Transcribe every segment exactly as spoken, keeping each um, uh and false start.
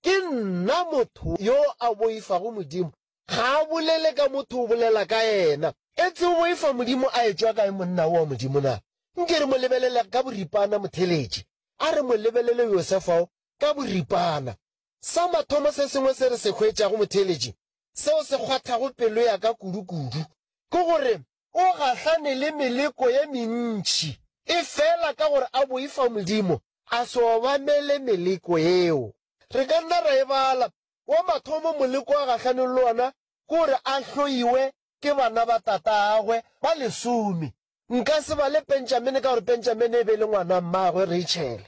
Ke nna motho yo a boifago Modimo. Ga a bolele ka motho, o bolela ka yena. Etse o boifa Modimo a etšwa kae monna wo wa Modimo na? Nke re mo lebelele ka boripana motheletši. A re mo lebelele Josefa o ka boripana. Sa mathomo se sengwe se re se hwetšago motheletši, seo se kgwathago pelo ya ka kudu-kudu, ke gore o gahlane le meleko ye mentši, efela ka gore a boifa Modimo, a se obamele meleko yeo. Re ka nna ra e bala. Wa mathomo moleko a gahlaneng le wona ke gore a hloiwe ke bana ba tatagwe ba lesome. Nka se bale Benjamene ka gore Benjamene e be e le ngwana mmagwe Rachel.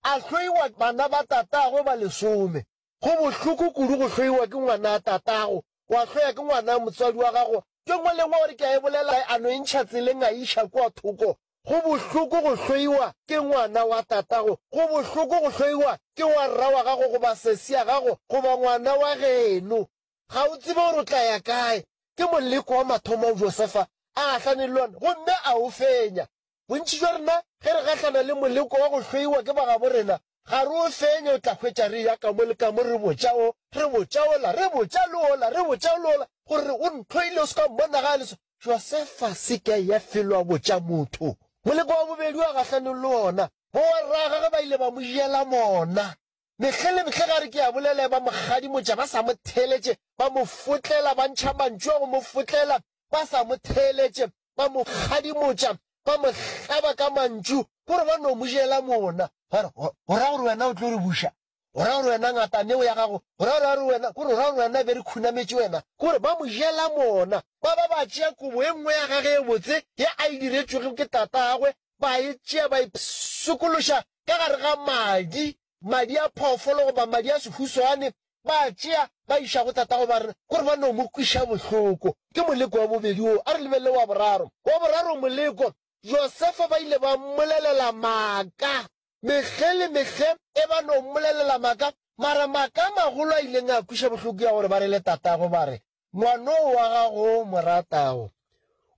A hloiwa bana ba tatagwe ba lesome. Go bohloko kudu go hloiwa ke ngwana tatago, wa hloya ke ngwana motswadi wa gago. Ke nngwe le nngwe gore ke a e bolela a no e ntšha tseleng a e iša kua thoko. Go bohloko go hloiwa ke ngwana wa tatago, go bohloko go hloiwa ke wa rra wa gago goba sesi ya gago goba ngwana wa geno. Ga o tsebe gore o tla ya kae. Ke moleko wa mathomo ao Josefa a gahlaneng le ona gomme a o fenya. Bontši bja rena ge re gahlana le moleko wa go hloiwa ke bagabo rena, ga re o fenye, o tla hwetša re eya ka mo le ka mo re botša o, re botša ola, re botša le ola, re botša le ola gore o ntlhoile, o se ka mmona ga a le so. Josefa se ke a eya felo a botša motho. Moleko wa bobedi wa gahlanong le wona, bowarragagwe ba ile ba mo jela mona. Mehle le mehle ga re ke a bolela ba mo kgadimotša ba sa mo theeletše, ba mo fotlela, ba ntšha mantšu a go mo fotlela ba sa mo theeletše, ba mo kgadimotša, ba mo hlaba ka mantšu, gore ba no mo jela mona. Ba re, O ra gore wena o tlo re buša? O ra gore wena ngataneo ya gago? O ra gore wena, kore o ra gore wena be re khunametše wena? Kore ba mo jela mona. Ba ba ba tšea kobo e nngwe ya gage e botse ye a e diretšwego ke tatagwe, ba e tšea ba e pshikološa ka gare ga madi, madi a phoofolo goba madi a sehuswane, ba a tšea ba iša go tatago ba re, kore ba no mo kweša bohloko. Ke moleko wa bobedi wo. A re lebelele wa boraro. Wa boraro moleko, Josefa ba ile ba mmolelela maaka. Mehle le mehle e ba no mmolelela maaka, mara maaka a magolo a ileng a kweša bohloko ya gore ba re le tatago ba re, Ngwanoo wa gago o mo ratago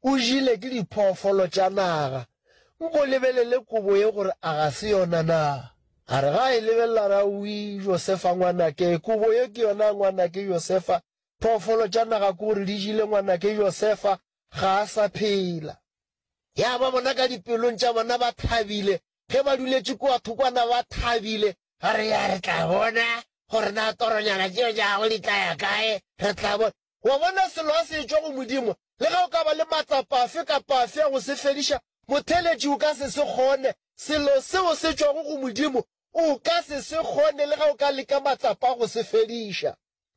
o jile ke diphoofolo tša naga. Nko lebelele kobo ye gore a ga se yona na? A re ga a e lebelela a re, Aowi, Josefa ngwanake, kobo ye ke yona ngwanake Josefa, phoofolo tša naga ke gore di jile ngwanake Josefa, ga a sa phela. Ya ba bona ka dipelong tša bona ba thabile, ge ba duletše kua thokwana ba thabile, ba re, Ya, re tla bona gore na toronyana tšeo tša gago di tla ya kae, re tla bona. Wa bona, selo ga se etšwa go Modimo, le ge o ka ba le matsapa afe kapa afe a go se fediša, motheeletši o ka se se kgone. Selo seo se tšwago go Modimo, o ka se se kgone le ge o ka leka matsapa a go se fediša.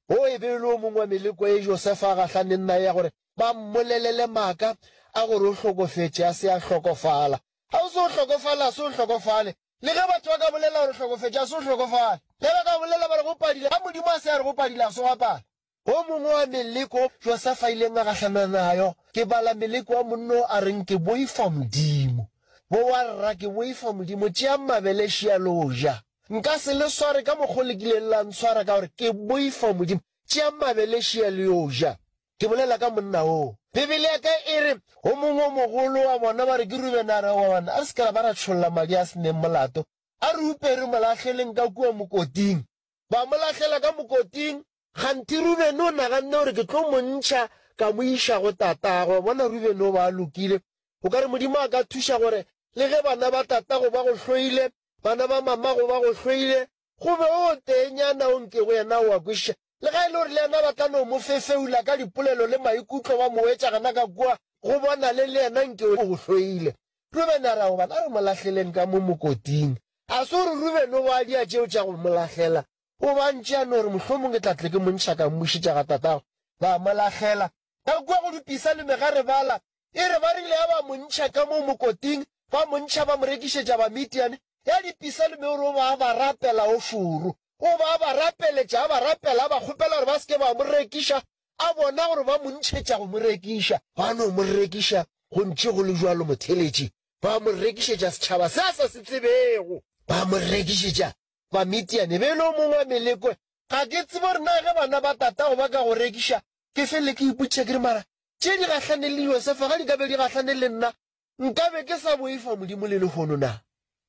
Wo e be e le o mongwe wa meleko ye Josefa a gahlaneng nayo ya gore ba mmolelele maaka a gore o hlokofetše a se a hlokofala. Ga o se o hlokofale, a se o hlokofale. Le ge batho ba ka bolela gore o hlokofetše, a se o hlokofale. Le ge ba ka bolela ba re go padile, ga Modimo a se a re go padile, a se gwa pala. O mongwe wa meleko Josefa a ileng a gahlana nayo, ke bala meleko wa monna o a reng ke boifa Modimo. Bowarra, ke boifa Modimo, tšeang mabele šia le o ja. Nka se le sware ka mokgwa o le kileng la ntshwara ka gore ke boifa Modimo. Tšeang mabele šia le yo ja. Ke bolela ka monna oo. Bibele ya ka e re, O mongwe o mogolo wa bona ba re ke Rubene a re, Aowa banna, a re se ke ra ba ra tšholla madi a se neng molato. A re upe re mo lahleleng ka kua mokoting. Ba mo lahlela ka mokoting. Kganthe Rubene o naganne gore ke tlo mo ntšha ka mo iša go tatagwe. Wa bona Rubene o ba a lokile. O ka re Modimo a ka thuša gore le ge bana ba tatago ba go hloile, bana ba mamago ba go hloile, go be o teenyana o nkego yena o a kwešiša. Le ga e le gore le yena ba tla no mo fefeula ka dipolelo le maikutlo ba mo wetša gana ka kua, go bonale le yena nke o go hloile. Rubene a re, Aowa bana, a re mo lahleleng ka mo mokoting. A se gore Rubene o ba a dia tšeo tša go mo lahlela, o ba ntše a no re, Mohlomong ke tla tle ke mo ntšha ka mmušetša ga tatagwe. Ba mo lahlela ka kua go dipisalome ga re bala, e re ba rile ya ba mo ntšha ka moo mokoting, ba mo ntšha ba mo rekišetša Bamidiane. Ya dipisalome o re o ba a ba rapela o šoro, o ba a ba rapeletša, a ba rapela, a ba kgopela gore ba se ke ba mo rekiša, a bona gore ba mo ntšhetša go mo rekiša. Ba no mo rekiša go ntše go le bjalo motheeletši, ba mo rekišetša setšhaba se a sa se tsebego, ba mo rekišetša Bamidiane. E be e le o mongwe wa meleko. Ga ke tsebe gore na ge bana ba tatago ba ka go rekiša, ke fele ke ipotšiša ke re, Mara tše di gahlane le Josefa ga di ka be di gahlane le nna, nka be ke sa boifa Modimo le lehono na?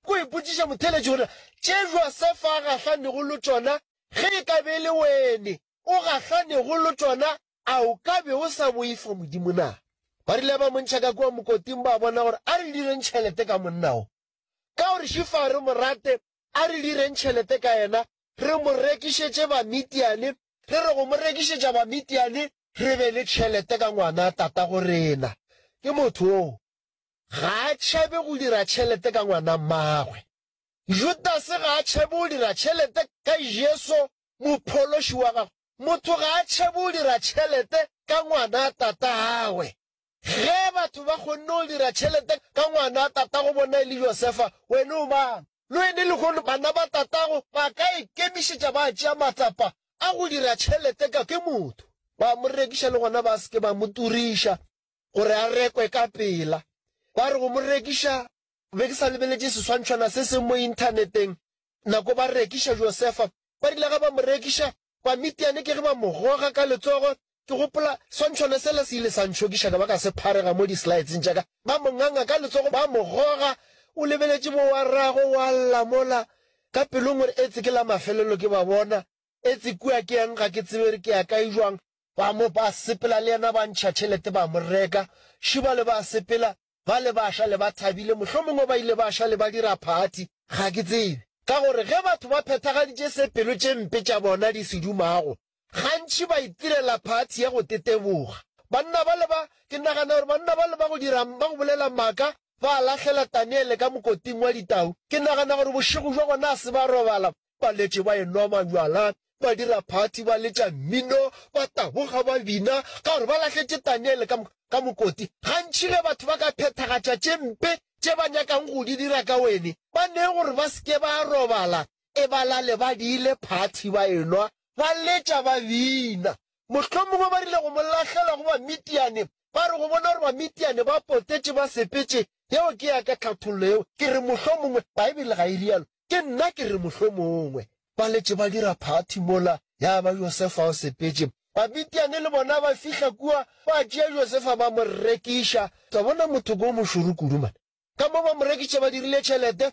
Ko ipotšiša motheeletši gore tše Josefa a gahlanego le tšona Ge e ka be e le wene o gahlanego le tšona, a o ka be o sa boifa Modimo na? Ba rile ba mo ntšha ka kua mokoting, ba bona gore a re direng tšhelete ka monna o. Ka gore šifa re mo rate, a re direng tšhelete ka yena, re mo rekišetše Bamidiane, re re go mo rekišetša Bamidiane, re be le tšhelete ka ngwana tatago rena. Ke motho o ga a tšhabe go dira tšhelete ka ngwana mmagwe. Judase ga a tšhabe go dira tšhelete ka Jesu mophološi wa gagwe. Motho ga a tšhabe go dira tšhelete ka ngwana tatagwe. Ge batho ba kgonne go dira tšhelete ka ngwana tatago bona e le Josefa, wena o mang? Le wene lehono bana ba tatago ba ka ikemišetša ba tšea matsapa a go dira tšhelete ka ke motho. Ba mo rekiša le gona ba se ke ba mo turiša gore a rekwe ka pela. Ba re go mo rekiša, be ke sa lebeletše seswantšhwana se seng mo inthaneteng, nako ba rekiša Josefa, ba rile ga ba mo rekiša, Bamidiane ke ge ba mo goga ka letsogo. Ke gopola swantšhwana sela se ile sa ntšhokiša ka ba ka se pharega mo di-slideseng tša ka. Ba mo nganga ka letsogo, ba mo goga, o lebeletše bo wa rrago wa lla mola ka pelong gore etse ke la mafelelo ke ba bona, etse kua ke yang ga ke tsebe re ke ya kae jwang. Ba mo ba sepela le yena ba ntšha tšhelete ba mo reka. Šiba le ba sepela ba le ba šale ba thabile, mohlomongwe ba ile ba šale ba dira phathi, ga ke tsebe. Ka gore ge batho ba phethagaditše se pelo tše mpe tša bona di se dumago, gantši ba itirela phathi ya go teteboga. Banna ba le ba, ke nagana gore banna ba le ba go dira, ba go bolela maaka, ba lahlela Daniele ka mokoting wa ditau. Ke nagana gore bošego bja gona a se ba robala, ba letše ba enwa majwala, ba dira phathi, ba letša mmino, ba taboga, ba bina, ka gore ba lahletše Daniele ka, ka mokoti. Gantši ge batho ba ka phethagatša tše mpe tše ba nyakang go di dira ka wene, ba nee gore ba se ke ba robala, e ba lale ba diile phathi, ba enwa, ba letša, ba bina. Mohlomongwe ba rile go mo lahlela go Bamidiane, ba re go bona gore Bamidiane ba potetše ba sepetše. Yeo ke ya ka tlhathollo yeo. Ke re mohlomongwe, Baebele ga e rialo, ke nna ke re mohlomongwe. Ba letše ba dira phathi mola, ya ba Josefa o sepetše. Bamidiane le bona ba fihla kua, ba tšea Josefa ba mo rekiša. Tla bona motho ko mošoro kudu man. Ka mo ba mo rekiša ba dirile tšhelete,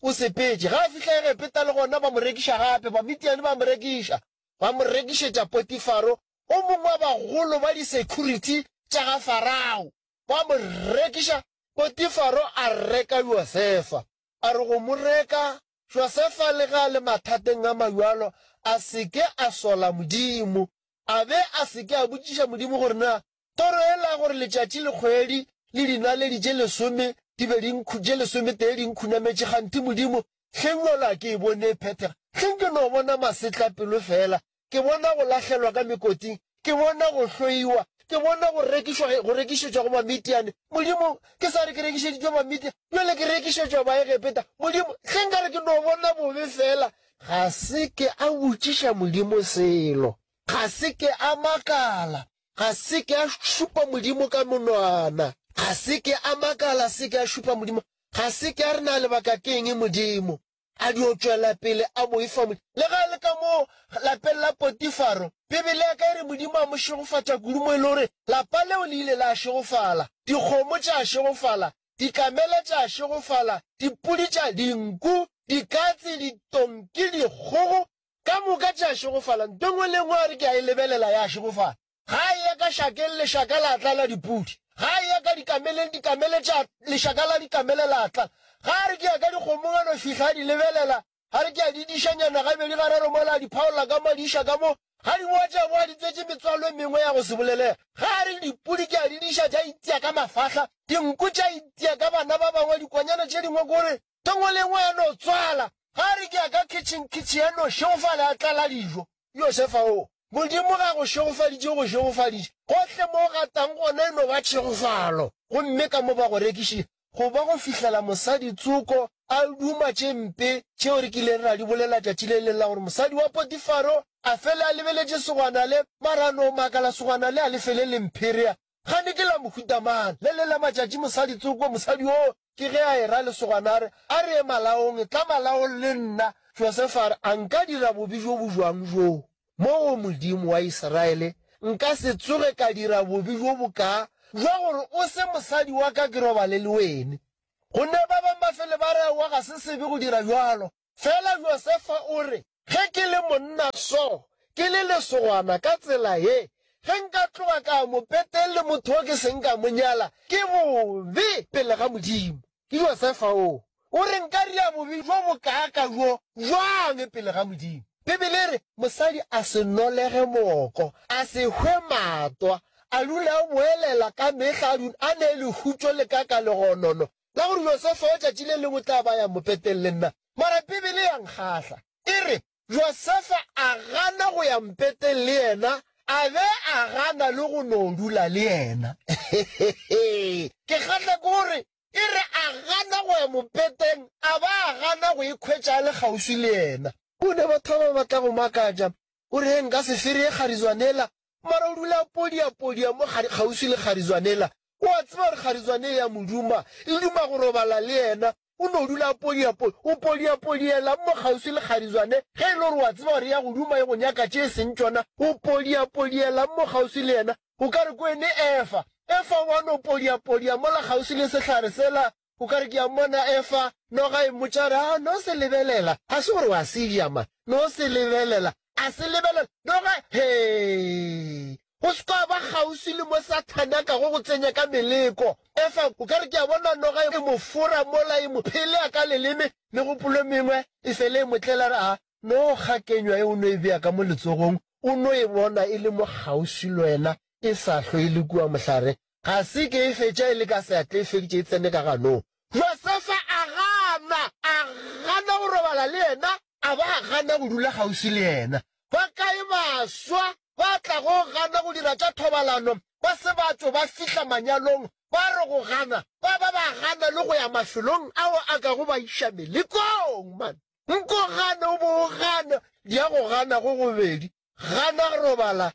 o sepetše. Ga a fihla Egepeta le gona ba mo rekiša gape, Bamidiane ba mo rekiša. Ba mo rekišetša Potifaro, o mongwe wa bagolo ba di-security tša ga Farao. Ba mo rekiša, Potifaro a reka Josefa. A re go mo reka, Josefa le ge a le mathateng a mabjalo, a se ke a sola Modimo, a be a se ke a botšiša Modimo gore na toro yela ya gore letšatši le kgwedi le dinaledi tše lesome di be di tše lesometee di nkhunametše, kganthe Modimo hleng bjalo a ke e bone e phethega. Hleng ke no bona masetlapelo fela, ke bona go lahlelwa ka mekoting, ke bona go hloiwa, ke bona go rekišwa, go rekišetšwa go Bamidiane. Modimo, ke sa re ke rekišeditšwe Bamidiane, bjale ke rekišetšwa Baegepeta. Modimo, hleng ka re ke no bona bobe fela. Ga se ke a botšiša Modimo selo, ga se ke a makala, ga se ke a šupa Modimo ka monwana, ga se ke a makala, se ke a šupa Modimo, ga se ke a re na lebaka ke eng Modimo. A dio tšwela pele a boifa Modimo. Le ge a le ka moo lapeng la Potifaro, Bibele ya ka e re Modimo a mo šegofatša kudu mo e le gore lapa leo le ile la šegofala, dikgomo tša šegofala, dikamela tša šegofala, dipudi tša, dinku, dikatse, ditonki, dikgogo, ka moka tša šegofala. Nto e nngwe le e nngwe a re ke a e lebelela ya šegofala. Ga a eya ka šakeng, lešaka la tlala dipudi. Ga a eya ka dikameleng, dikamele tša, lešaka la dikamele la tlala. Ga a re ke ya ka dikgomong, a no fihla a di lebelela, a re ke a di dišanyana gabedi gararo mola a di phaolla ka mo, a di iša ka mo. Ga di boa tša boa di tswetše metswalo e mengwe ya go se bolelege. Ga a re dipudi ke a di diša tša itia ka mafahla, dinku tša itia ka bana ba bangwe, dikwanyana tše dingwe kore nto nngwe le nngwe ya no tswala. Ga a re ke ya ka kitchen, kitchen ya no šegofala ya tlala dijo. Josefa o Modimo ga go šegofaditše, o go šegofaditše. Gohle mo o gatang gona e no ba tšhegofalo. Gomme ka mo ba go rekišitše, go ba go fihlela mosadi tsoko a duma tše mpe tšeo re kileng ra di bolela tšatši le leng la gore mosadi wa Potifaro a fele a lebeletše segwana le, mara a no makala segwana le a le fele le mpherea. Gane ke la mohuta mang? Le le la matšatši mosadi tsoko, mosadi yoo ke ge a era lesogana a re, A re ye malaong, tla malaong le nna. Josefa a re, A nka dira bobe bjo bo bjang bjoo mo go Modimo wa Israele? Nka se tsoge ka dira bobe bjo bokaa bja gore o se mosadi wa ka ke robale le wene. Gonne ba bangwe ba fele ba re, Aowa, ga se sebe go dira bjalo. Fela Josefa o re, Ge ke le monna so, ke le lesogana ka tsela ye, ge nka tloga ka ya mopeteng le motho wo ke seng ka mo nyala, ke bobe pele ga Modimo. Ke Josefa o. O re nka ria bobe bjo bokaaka bjo bjang pele ga Modimo? Bibele e re, Mosadi a se nolege mooko, a se hwe matwa, a dule a boelela ka mehla, a dule a ne lehutšo le ka ka legonono la gore Josefa o tšatši le lengwe o tla ba ya mopeteng le nna. Mara Bibele ya nkgahla. E re, Josefa a gana go ya mpeteng le yena, a be a gana le go no dula le yena. Ke kgahla ke gore e re a gana go ya mopeteng, a ba a gana go ikhwetša a le kgauswi le yena. Go ne batho ba ba batla go makatša, o re, He, nka se fereye kgarizwanela, mara o dula a podiapodia mo kgauswi le kgarizwanela. O a tseba gore kgarizwane e ya mo duma, e duma go robala le yena. O no dula a podiapodia. O podiapodielang mo kgauswi le kgarizwane? Ge e le gore o a tseba gore e ya go duma e go nyaka tše e seng tšona, o podiapodielang mo kgauswi le yena? O ka re kwene Efa. Efa o a no podiapodia mola kgauswi le sehlare sela. O ka re ke a mmona Efa, noga e mmotša gore, A no se lebelela. Ga se gore wa se ja, man. No se lebelela. A se lebelela. Noga, hee! Go se kwa ba kgauswi le mo Sathane a kago go tsenya ka meleko. Efa, o ka re ke a bona noga e mo fora mola e mo phelea ka leleme, megopolo e mengwe e fele e mo tlela re, A no kga kenywa e o no e bea ka mo letsogong, o no e bona e le mo kgauswi le wena, e sa hlwe e le kua mohlare. Ga se ke e fetša e le ka seatla, e feditše e tsene ka ganong. Josefa a gana, a gana go robala le yena, a ba a gana go dula kgauswi le yena. Ba kae baswa ba tlago gana go dira tša thobalano ba se ba tšo ba fihla manyalong, ba re go gana, ba ba ba gana le go ya mafelong ao a kago ba iša melekong? Man, nko gane o bo o gana, di ya go gana go gobedi, gana go robala,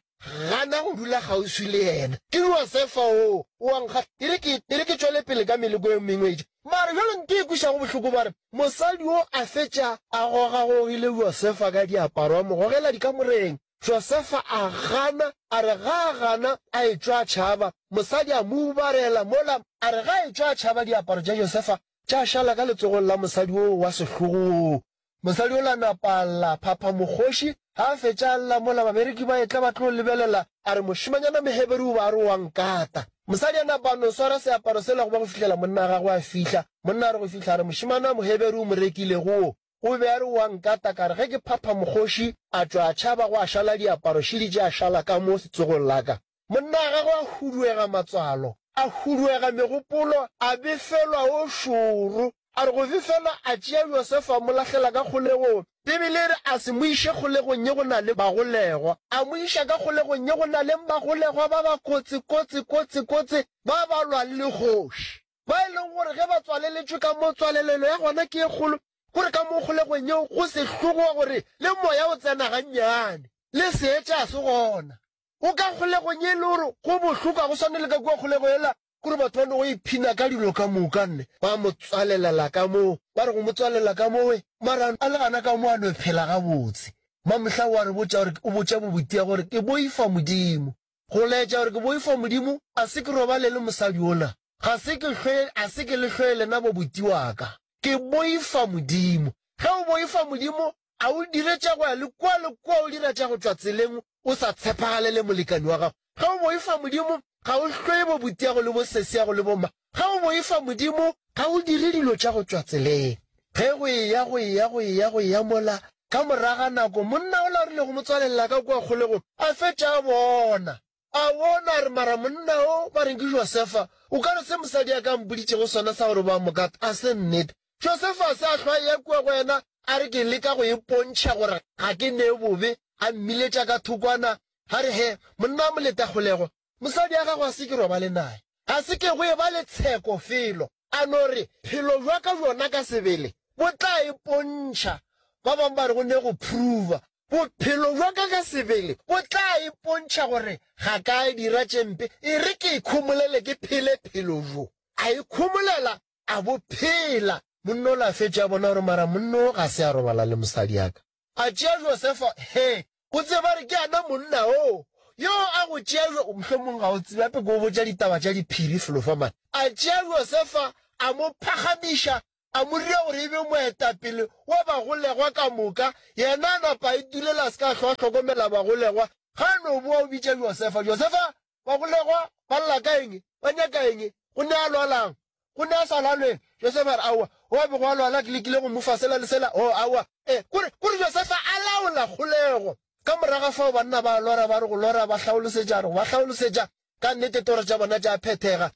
gana go dula kgauswi le yena. Ke Josefa oo, o a nkgahla. E re ke, e re ke tšwele pele ka meleko e mengwe e. Mara bjale nto e kwešago bohloko ba re, mosadi wo a fetša a gogagogile Josefa ka diaparo, a mo gogela dikamoreng. Josefa a gana, a re ga a gana a etšwa a tšhaba. Mosadi a mo ubarela mola, a re ga a etšwa a tšhaba diaparo tša Josefa tša šala ka letsogong la mosadi woo wa sehlogo woo. Mosadi yola a napa a lla, phapha mokgoši, ga a fetša a lla mola babereki ba etla ba tlo lebelela, a re mošemanyana Moheberu o ba a re o a nkata. Mosadi a napa a no swara seaparo sela go ba go fihlela monna wa gagwe a fihla. Monna a re go fihla a re mošemane wa Moheberu o mo rekilego wo, o be a re o a nkata, ka re ge ke phapha mokgoši, a tšwa a tšhaba gwa šala diaparo šidi tša šala ka mo setsogong la ka. Monna wa gagwe a huduega matswalo, a huduega megopolo, a befelwa o šoro. A re go befelwa a tšea Josefa a mo lahlela ka kgolegong. Bibele e re a se mo iše kgolegong ye go na le bagolegwa, a mo iša ka kgolegong ye go na leng bagolegwa ba ba kotsi, kotsi, kotsi, kotsi, ba ba lwang le kgoši, ba e leng gore ge ba tswaleletšwe ka mo, tswalelelo ya gona ke e kgolo, gore ka mo kgolegong yeo go sehlogo wa gore le moya o tsena gannyane, le seetša ga se gona. O ka kgolegong ye e le gore go bohloko, ga go swane le ka kua kgolego yela, kore batho ba no go iphina ka dilo ka moka nne. Ba mo tswalelela ka moo, ba re go mo tswalela ka moo, mara a le gana ka moo a no phela gabotse. Mamohla o a re botša gore, o botša bobotia gore, Ke boifa Modimo. Go laetša gore ke boifa Modimo, a se ke robale le mosadi yola. Ga se ke hlwe, a se ke le hloye lena bobuti wa ka. Ke boifa Modimo. Ge o boifa Modimo, a o dire tša go ya le kua le kua, o dira tša go tšwa tseleng, o sa tshepagalele molekani wa gago. Ge o boifa Modimo, ga o hloye bobutiago le bosesiago le bomma. Ge o boifa Modimo, ga o dire dilo tša go tšwa tseleng. Ge go eya, go eya, go eya, go eya mola, ka moraga nako, monna ola o rile go mo tswalelela ka kua kgolegong, a fetša a bona. A bona, a re, Mara monna o ba reng ke Josefa, o ka re se mosadi a ka a mpoditšego sona sa gore ba mo kata, a se nnete. Josefa a se a hlwa a eya kua go yena, a re, Ke leka go ipontšha gore ga ke nee bobe. A mmiletša ka thokwana, a re, He, monna wa moletakgolego, mosadi ya gago a se ke robale naye. Ga se ke go eba le tsheko felo. A no re, Phelo bja ka bjona ka sebele bo tla ipontšha. Ba bangwe ba re go ne go prova. Bophelo bja ka ka sebele bo tla ipontšha gore ga ka dira tše mpe. E re ke ikhomolele ke phele phelo bjo. A ikhomolela, a bo phela. Monna ola a fetše a bona gore mara monna o ga se a robala le mosadi ya ka. A tšea Josefa, he, o tsebe ba re ke ana monna o, yo a go tšea Jo, mohlomong ga o tsebe, gape ke o botša ditaba tša diphiri felo fa man. A tšea Josefa, a mo phagamiša, A mo dira gore e be moetapele wa bagolegwa ka moka. Yena a napa a itulela a se ka a hlwa a hlokomela bagolegwa. Ga a no boa o bitša Josefa, Josefa, bagolegwa ba lla ka eng? Ba nyaka eng? Go ne a lwalang? Go ne a sa lwalweng? Josefa a re, Aowa, o a bego a lwala ke lekile go mo fa sela le sela. Oh, aowa. E, kore, kore Josefa a laola kgolego. Ka morago ga fao banna ba lora ba re go lora ba hlaolosetša, a re go ba hlaolosetša, ka nnete toro tša bona tša phethega.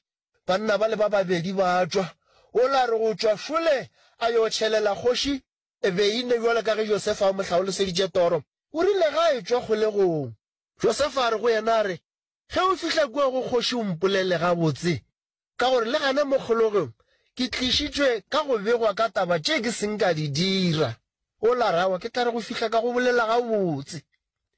Banna bale ba babedi ba tšwa. Ola a re go tšwa šole a yo tšhelela kgoši beine bjalo ka ge Josefa a mo hlaoloseditše toro. O rile ge a etšwa kgolegong, Josefa a re go yena a re, Ge o fihla kua go kgoši o mpolele gabotse, ka gore le gana mo kgolegong ke tlišitšwe ka go begwa ka taba tše ke seng ka di dira. Ola a re, Aowa, ke tla re go fihla ka go bolela gabotse.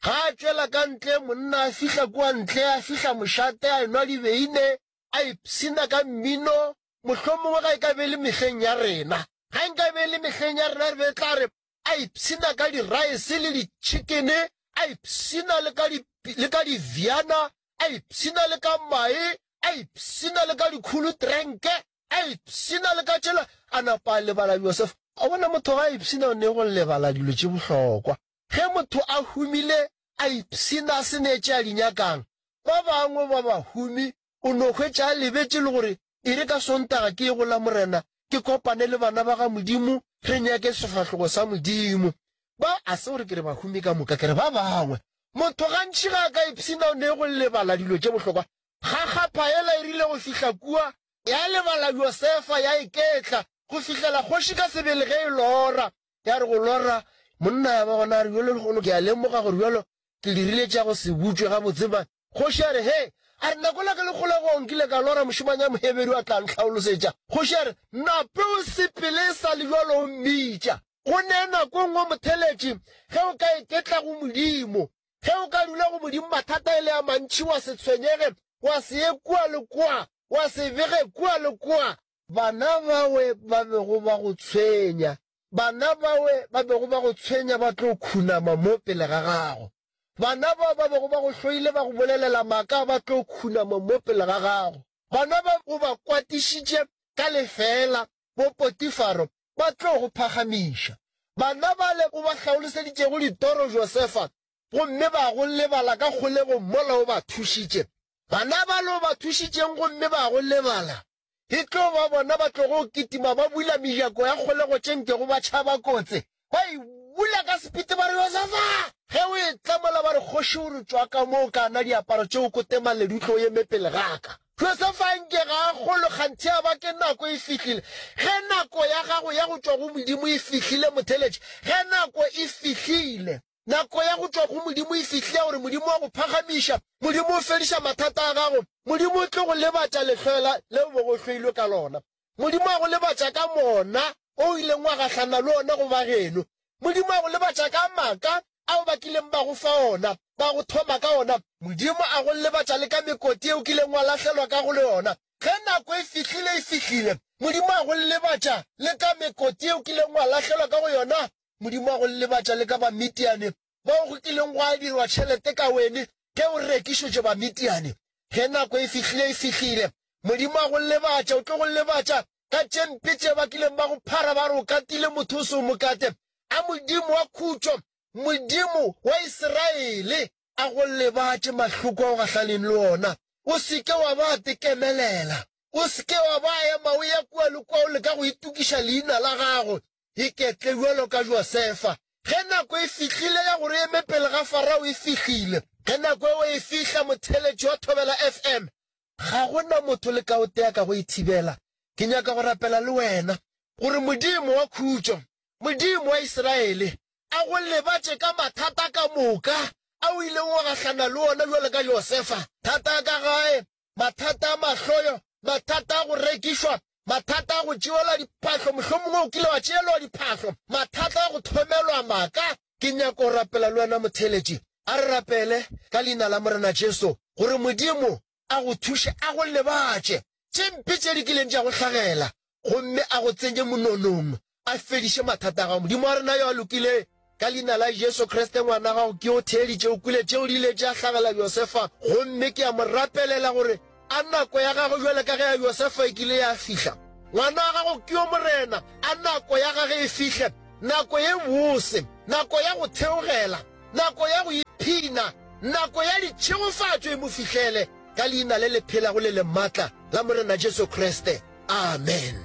Ga a tšwela ka ntle, monna a fihla kua ntle, a fihla mošate, a enwa dibeine, a ipshina ka mmino, mohlomongwe ga e ka be e le mehleng ya rena. Ga e nka be e le mehleng ya rena re be tla re a ipshina ka diraese le ditšhikene, a ipshina le ka di, le ka diviana, a ipshina le ka mae, a ipshina le ka dikhulutrenke, a ipshina le ka tšela, a napa a lebala Josefa. A bona motho ga a ipshina o ne go lebala dilo tše bohlokwa. Ge motho a humile a ipshina a se ne tše a di nyakang, ba bangwe ba bahumi o no hwetša a lebetše le gore e re ka Sontaga ke ye go Lamorena ke kopane le bana ba ga Modimo re nyake sefahlogo sa Modimo. Ba, a se gore ke re bahumi ka moka, ke re ba bangwe. Motho gantši ga a ka ipshina o ne go lebala dilo tše bohlokwa. Kgakgapha yela e rile go fihla kua, ya lebala Josefa, ya iketla, go fihlela kgoši ka sebele ge e lora. Ya re go lora, monna ya ba gona a re, Bjalo lehono ke a lemoga gore bjalo ke dirile tša go se butšwe gabotse. Ba, kgoši a re, He! A re, Nako la ke le kgolegong nkile ka lora mošemane ya Moheberu a tla ntlhaolosetša. Kgoši a re, Nape o sepele e sa le bjalo o mmitša. Go ne nako e nngwe motheletši ge o ka iketla go Modimo, ge o ka dula go Modimo mathata e le a mantši wa se tshwenyege, wa se ye kua le kua, wa se bege kua le kua. Bana bawe ba bego ba go tshwenya, bana bawe ba bego ba go tshwenya ba tlo khunama mo pele ga gago. Bana bao ba bego ba go hloile ba go bolelela maaka ba tlo khunama mo pele ga gago. Bana ba o ba kwatišitše ka lefeela, bo Potifaro, ba tlo go phagamiša. Bana bale o ba hlaoloseditšego ditoro Josefa, gomme ba go lebala ka kgolegong mola o ba thušitše. Bana bale o ba thušitšeng gomme ba go lebala, e tlo ba bona ba tlogo kitima ba bula mejako ya kgolego tše nkego ba tšhaba kotse, ba e bula ka sepiti ba re, Josefa! Ge o etla mola ba re, Kgoši o re, Tšwa ka mo o ka na diaparo tše o kote maledu tlo o eme pele ga ka. Josefa nke ga a kgolwe kganthe ya ba ke nako e fihlile. Ge nako ya gago ya go tšwa go Modimo e fihlile, motheeletši, ge nako e fihlile, nako ya go tšwa go Modimo e fihlile ya gore Modimo wa go phagamiša, Modimo o fediša mathata a gago, Modimo o tlo go lebatša lehloela leo o bego o hloilwe ka lona. Modimo a go lebatša ka mona o ileng wa gahlana le ona go ba geno. Modimo a go lebatša ka maaka ao ba kileng ba go fa ona, ba go thoma ka ona. Modimo a go lebatša le ka mekoti ye o kileng wa lahlelwa ka go yona. Ge nako e fihlile, e fihlile. Modimo a go lebatša le ka mekoti ye o kileng wa lahlelwa ka go yona. Modimo a go lebatša le ka Bamidiane bao go kileng gwa dirwa tšhelete ka wene ge o rekišetšwe Bamidiane. Ge nako e fihlile, e fihlile. Modimo a go lebatša, o tlo go lebatša ka tše mpe tše ba kileng ba go phara ba re o katile motho o se o mo kate. A Modimo wa khutšo, Modimo wa Isiraele, a go lebatše mahloko a o gahlaneng le ona. O se ke wa ba tekemelela. O se ke wa ba ema o ya kua le kua o leka go itokiša leina la gago. Iketle bjalo ka Josefa. Ge nako e fihlile ya gore o eme pele ga Farao e fihlile. Ge nako eo e fihla, motheeletši wa Thobela F M, ga go na motho le ka o tee a ka go e thibela. Ke nyaka go rapela le wena, gore Modimo wa khutšo, Modimo wa Israele, a go lebatše ka mathata ka moka a o ileng wa gahlana le ona bjalo ka Josefa, thata a ka gae, mathata a mahloyo, mathata a go rekišwa, mathata a go tšeelwa diphahlo, mohlomongwe o kile wa tšeelwa diphahlo, mathata a go thomelwa maaka. Ke nyaka go rapela le wena motheeletši. A re rapele ka Leina la Morena Jesu, gore Modimo a go thuše, a go lebatše tše mpe tše di kileng tša go hlagela, gomme a go tsenye mononong, a fediše mathata a gago. Modimo wa rena yo a lokile, ka Leina la Jesu Kriste, ngwana gago ke o theeditše, o kwele tšeo di ile tša hlagela Josefa, gomme ke a mo rapelela gore a nako ya gagwe bjalo ka ge ya Josefa e kile ya fihla, Ngwana wa gago ke yo, Morena, a nako ya gage e fihle, nako ye bose, nako ya go theogela, nako ya go iphina, nako ya ditšhegofatšo e mo fihlele, ka Leina le le phelago le le maatla la Morena Jesu Kriste. Amen.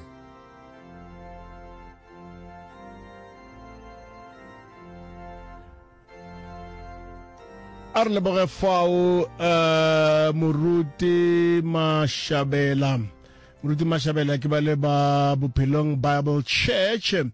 A re leboge fao uh, Moruti Mashabela. Moruti Mashabela ke ba le ba Bophelong Bible Church. Re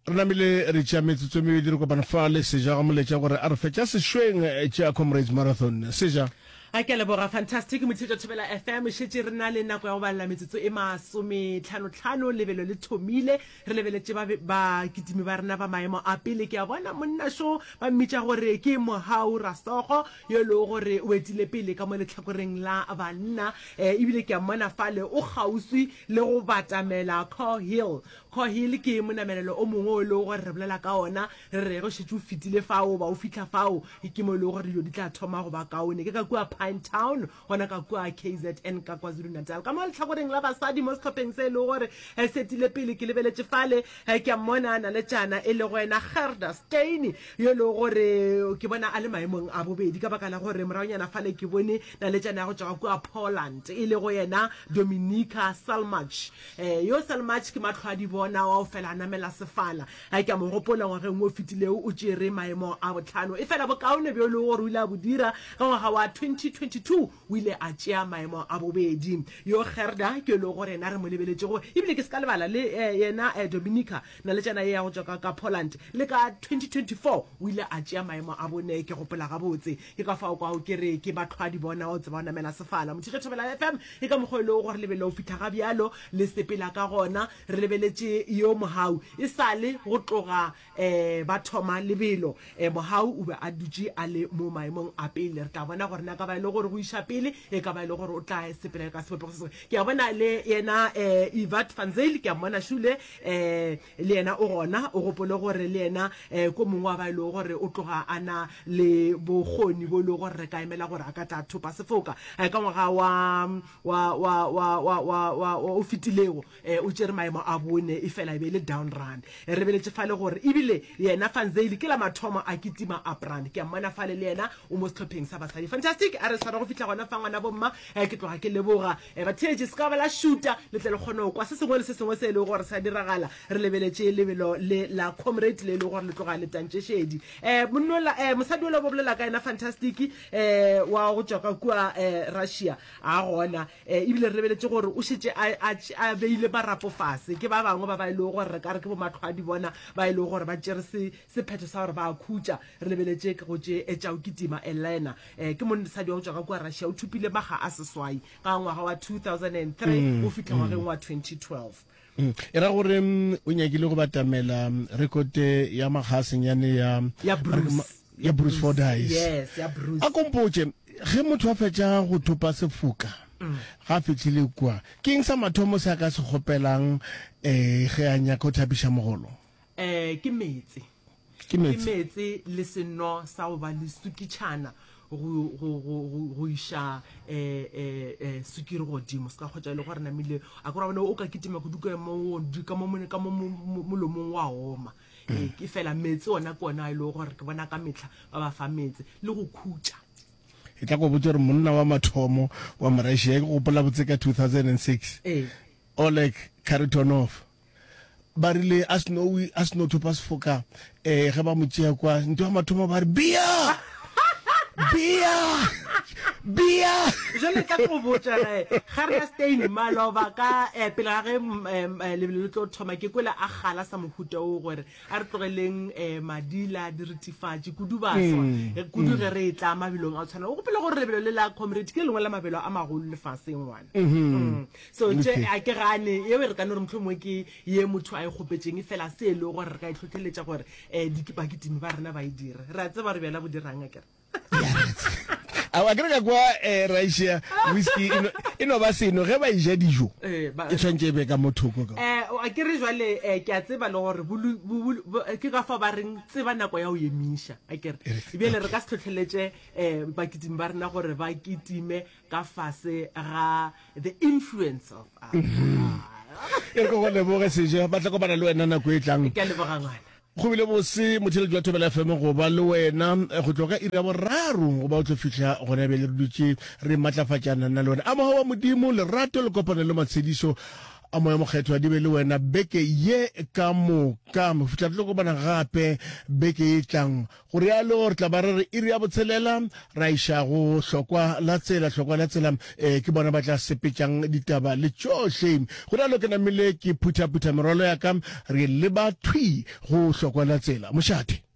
namile re tšea metsotso e mebedi re kopana fa le Seja ga moletša gore a re fetša sešweng tša Comrades Marathon. Seja. A ke a leboga Fantastic Mothetšo Thobela F M. Šetše re na le nako ya go balela metsotso e masometlhanotlhano. Lebelo le thomile. Re lebeletše ba, bakitimi ba rena ba maemo a pele. Ke a bona monna šo ba mmitša gore ke Mohau Rasogo, yo e lego gore o etile pele ka mo lehlakoreng la banna. E, ebile ke a mmona fale o kgauswi le go batamela Core Hill. Core Hill ke monamelelo o mongwe o e lego gore re bolela ka ona, re re ge o šetše o fetile fao goba o fihla fao, ke mo e lego gore dilo di tla thoma go ba kaone. Ke ka kua Pinetown, gona ka kua K Z N ka KwaZulu-Natal. Ka mo lehlakoreng la basadi mo sehlopheng se e lego gore se etile pele, ke lebeletše fale, ke a mmona naletšana e lego yena Gerda Steyn, yo e lego gore ke bona a le maemong a bobedi ka baka la gore moragonyana fale ke bone naletšana ya go tšwa ka kua Poland e lego yena Dominika Salmach. Yo Salmach ke mahlo a di bona wa go fela a namela sefala. Ke a mo gopola ngwageng wo fetilego o tšere maemo a bohlano. Efela bokaone bjo e lego gore o ile a bo dira ka ngwaga wa twenty twenty two o ile a tšea maemo a bobedi. Yo Gerda ke yo e lego gore yena re mo lebeletšego ebile ke se ka lebala le yena Dominika naletšana ye ya go tšwa ka ka Poland le ka twenty twenty four o ile a tšea maemo a bone ke gopola gabotse. Ke ka fao kwago ke re ke mahlo a di bona wa go tseba go namela sefala. Mothetšo Thobela F M ke ka mokgwa e lego gore lebelo go fihla ga bjalo le sepela ka gona. Re lebeletše yo Mohau e sa le go tloga um ba thoma lebelo. Um Mohau o be a dutše a le mo maemong a pele. Re tla bona gore na ka ba e le gore go iša pele e ka ba e le gore o tla sepela ka sebopego se sengwe. Ke a bona le yena um Evert van Zyl, ke a mmona šule um le yena o gona. O gopole gore le yena um ko mongwe wa ba e lego gore o tloga a na le bokgoni bo e lego gore re ka emela gore a ka tla thopa sefoka ka ngwaga wa wa wa wa wa wa wa o fetilego. O tšere maemo a bone efela e be e le down run. Re lebeletše fale gore ebile yena Van Zyl ke la mathomo a kitima up run. Ke a mmona fale le yena o mo sehlopheng sa basadi. Fantastic, a re sware go fihla gona fa ngwana bomma. Ke tloga ke leboga batheetši, se ka ba la šuta le tle le kgone go kwa se sengwe le se sengwe se e lego gore sa diragala. Re lebeletše lebelo le la Comrade le e lego gore le tloga le tantše šedi. Monnola, mosadi yola o bolela ka yena Fantastic wa go tšwa ka kua Russia a gona. Ebile re lebeletše gore o šetše a, a, a beile marapo fase. Ke ba bangwe ba ba e lego gore re ka re ke bomahlwadi bona ba e lego gore ba tšere se, sephetho sa gore ba a khutša. Re lebeletše go tše tša go kitima Elena. Ke mosadi wa go tšwa ka kua Russia, o thopile makga a seswai ka ngwaga wa two thousand and three go fihla ngwageng wa twenty twelve. E ra gore o nyakile go batamela rekote ya makga a senyane ya, Ya Bruce. Ya Bruce Fordyce. Yes, ya Bruce. A kompotše, ge motho a fetša go thopa sefoka, ga a fihlile kua, ke eng sa mathomo se a ka se kgopelang um ge a nyaka go thapiša mogolo? Um ke meetse. Ke meetse. Ke meetse le seno sa go ba le sukitšhana go, go, go, go, go iša, eh, eh, eh, sukiri godimo. Se ka kgotša e le gore namile, a ke ra bona o ka kitima kudu ka mo, ka mo, ka mo, mo, molomong wa oma. Ee, ke fela meetse ona ke ona a e lego gore ke bona ka mehla ba ba fa meetse le go khutša. E tla go botša gore monna wa mathomo wa Morussia, ke gopola botse ka two thousand and six, Ee. Oleg Kharitonov, ba rile a seno, a seno thopa sefoka, eh, ge ba mo tšea kwa, ntho ya mathomo ba re, Bea! Bea! Bea! Jwale tla ke go botša ge, Gerda Steyn, maloba ka, eh, pele ga ge, mm, eh, lebelo le tlo thoma, ke kwele a kgala sa mohuta wo gore a re tlogeleng, eh, madila, diritifatši, kudu baswa, Mm, kudu mm. ge re etla mabelong a go tshwana. O gopole gore lebelo le la Comrade ke le lengwe la mabelo a magolo lefaseng, ngwana. Mm-hmm. Mm. So tše, Okay. a ke gane, yeo re ka no re mohlomongwe ke ye motho a e kgopetšeng, efela se e lego gore re ka e hlohleletša gore, eh, di-, bakitimi ba rena ba e dire. Re a tseba re bjala bo dirang, akere? A wa kere ka kwa eh, Russia whiskey e no, e no ba seno ge ba eja dijo Eh, ba- e tshwanetse e be ka mo thoko ka. Eh, a ke re jwale eh, ke a tseba le gore bolu- bo- bo- bo- ke ka fa ba reng tseba nako ya go emiša a kere bjale re ka se tlhotlheletše um bakitimi ba rena gore ba kitime ka fase ga the influence of alcohol. E re ke go leboge Seje, ba tla kopana le wena nako e tlang. Ke a leboga ngwana. Go bile bose motheeletši wa Thobela F M go ba le wena go tloga ka iri ya boraro go ba o tlo fihla gona bjale re dutše re matlafatšana nna le wena. A moga wa Modimo, lerato le kopano le matshedišo a Moya Mokgethwa di be le wena beke ye ka moka go fihla re tlo kopana gape beke e tlang. Go realo re tla ba re re iri ya botshelela ra iša go hlokwa la tsela, hlokwa la tsela eh, ke bona ba tla sepetšang ditaba le tšohle. Go realo ke namile ke phuthaputha merwalo ya ka re leba thwi go hlokwa la tsela. Mošate.